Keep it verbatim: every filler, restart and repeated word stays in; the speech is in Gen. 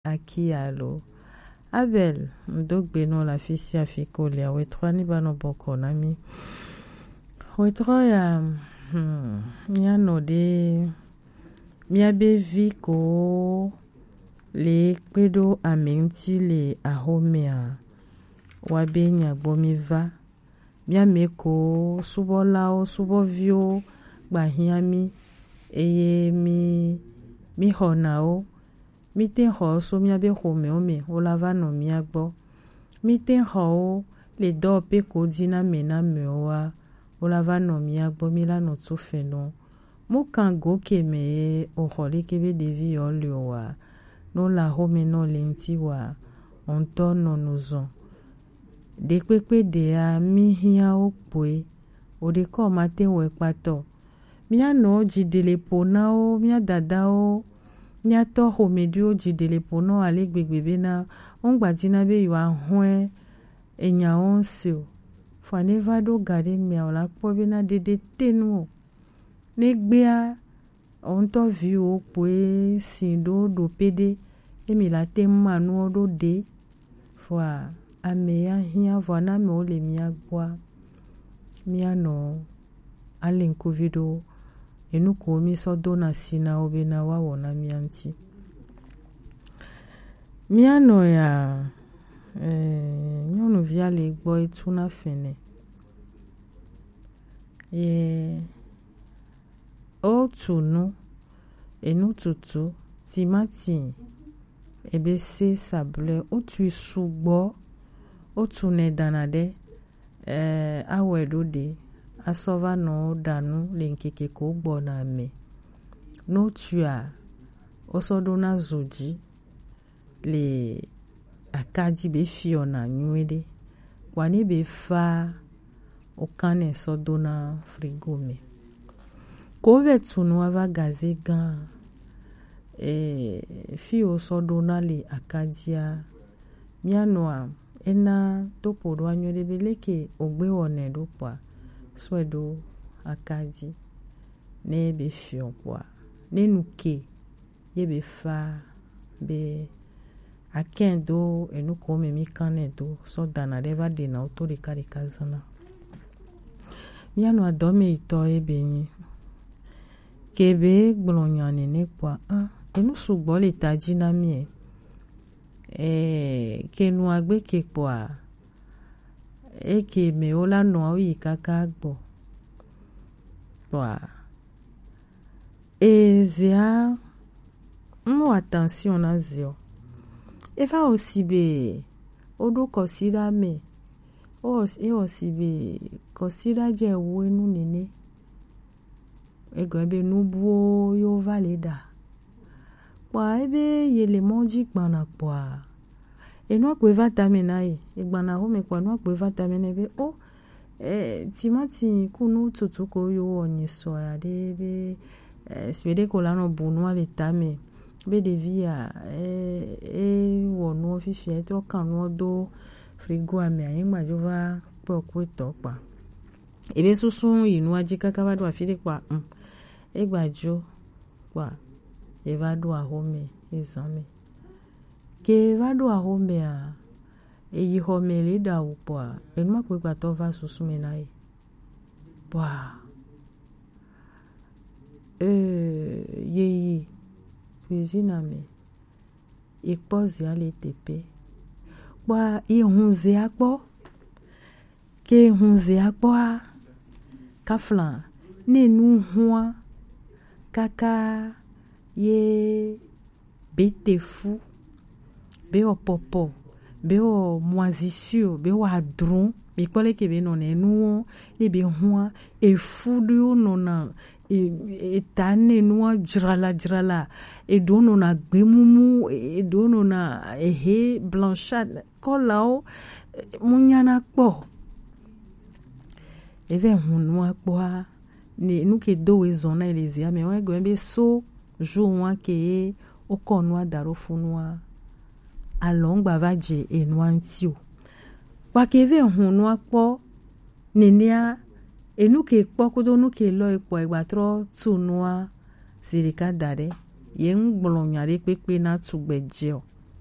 Akialo. Abel, ŋdo gbe nɔ le afi sia afi ko le awetrɔ ni ba nɔ bɔkɔ na mi. Wetrɔ ya, hmm, mía nɔ ɖe, mía be vi ko le kpe ɖo ame ŋuti le axomea, wa be nya gbɔ mi va. Mía mɛ ko subɔlawo, subɔviwo gba hiã mí, eye mí, mí xɔna wo. Mí te xɔ so mía be xomɛwo mɛ, wo la va nɔ mía gbɔ. Mí te xɔ wo le dɔwɔƒe ko dzi na mɛ na mɛwo wa, wo la va nɔ mía gbɔ, mí la nɔ tu fɛn nɔ. Mu kan go ke mɛ ye o xɔ leke be ɖevi yɔ le o wa, no la xomɛ nɔ le ŋuti wa, o ŋutɔ nɔ nu zɔn. Ɖekpekpe ɖea mí hiã wo kpoe, o ɖekɔ ma te wɛ kpatɔ. Mía nɔ dzi ɖe le ƒo na wo, mía dadawo, mía tɔ xomɛɖiwo dzi ɖe le ƒo na wo ale gbegbe bena wo ŋgba dina be yewoa hɔe enyawo ŋu se o. Fua ne va ɖo ga ɖe mea, wòla kpɔ bena ɖeɖe te nu o. Ne gbea, o ŋutɔ viwo kpoe si ɖo ɖo pe ɖe, emi la te ma nuwo ɖo ɖe. Vɔa, ame ya hiã vɔa na amewo le mía gbɔa, mía nɔ ale ŋkuvi ɖo enu ko mí sɔ dona si na wo bena woawɔ na mía ŋuti. Mía nɔ ya, eh, nyɔnuvia le gbɔ etu na fɛnɛ. Ye o tu nu, enu tutu, timati, ebe se sablɛ, o tui sugbɔ, o tu nɛ dana ɖe, eh, awɛ ɖo ɖe, asɔ va nɔ ɖa nu le ŋkeke ko gbɔna mɛ. No tuia, o sɔ ɖo na zo dzi le akadzi be fiɔna nyuiɖe. Wa ne be fa o kan nɛ sɔ do na frigo mɛ. Ko vɛ tunu ava gaze gan, eh, fi o sɔ ɖo na le akadzia, mía nɔa, ena topo ɖo anyuiɖe be leke o gbe wɔ nɛ ɖo kpoa, sɔe ɖo akadzi. Ne be fiɔ kpoa, ne nu ke ye be fa be akɛn do enu ko mɛ mí kan nɛ do sɔ dana ɖe va ɖe na wo to ɖeka ɖeka zana. Mía nɔ adɔme yi tɔ ye be nyi. Ke be gblɔ nya nene kpoa, ah, enu sugbɔ le ta dzi na mí e. Eh, ke nu agbe ke kpoa, eke mɛ wo la nɔ wo yi kaka gbɔ. Kpoa, e zea, mu attention na zeo. E va o si be, o ɖo kɔsiɖa mɛ. O s-, e o si be, kɔsiɖa jɛ wo enu nene. Egɔme be nu buwo yo va le ɖa. Kpoa ebe ye le mɔ dzi gbana kpoa, enua kpoe va tame na ye. Egbana xome kpoa enua kpoe va tame nɛ be, o, eh, timati ku nu tutu ko yo wɔ nyi sɔ ya ɖe be, eh, si be ɖe ko la nɔ bu nua le tame. Be ɖevi ya, eh, e wɔ nuɔ fifia, e trɔ kan nuɔ do frigo a mɛ, anyi gbadzo va kpɔ ku etɔ kpa. Ebe susu yi nua dzi kaka va ɖo afi ɖe kpoa, mm, egba dzo kpoa, e va ɖo axome, e zan me. Ke e va ɖo axomea, e yi xɔme le ɖa wu kpoa, enu ma kpoe gbatɔ va susu me na ye. Kpoa, euh, ye yi cuisine me, ye kpɔ zea le teƒe. Kpoa, ye hun zea kpɔ. Ke hun zea kpɔa, kafla ne nu hua kaka ye be te fu, be wɔ pɔpɔ, be wɔ moisissure, be wɔ adrun, mi kpɔ leke be nɔ ne nuwo, ne be hua, efu ɖewo nɔna, e, eta ne nua dzrala dzrala, eɖewo nɔna gbemumu, eɖewo nɔna ehe blanchard, kɔlawo, mu nyana kpɔ. Evɛ hun nua kpɔa, ne nu ke do we zɔn na ele zia me, wa egɔme be so jour wa ke ye wokɔ nua da ɖo fu nua, alɔ ŋgba va dze enua ŋuti o. Kpa ke evɛ hun nua kpɔ nenea, enu ke kpɔ kudo nu ke lɔ ekpɔ egba trɔ tu nua zi ɖeka da ɖe. Ye ŋgblɔ nya ɖe kpekpe na tugbe dze o.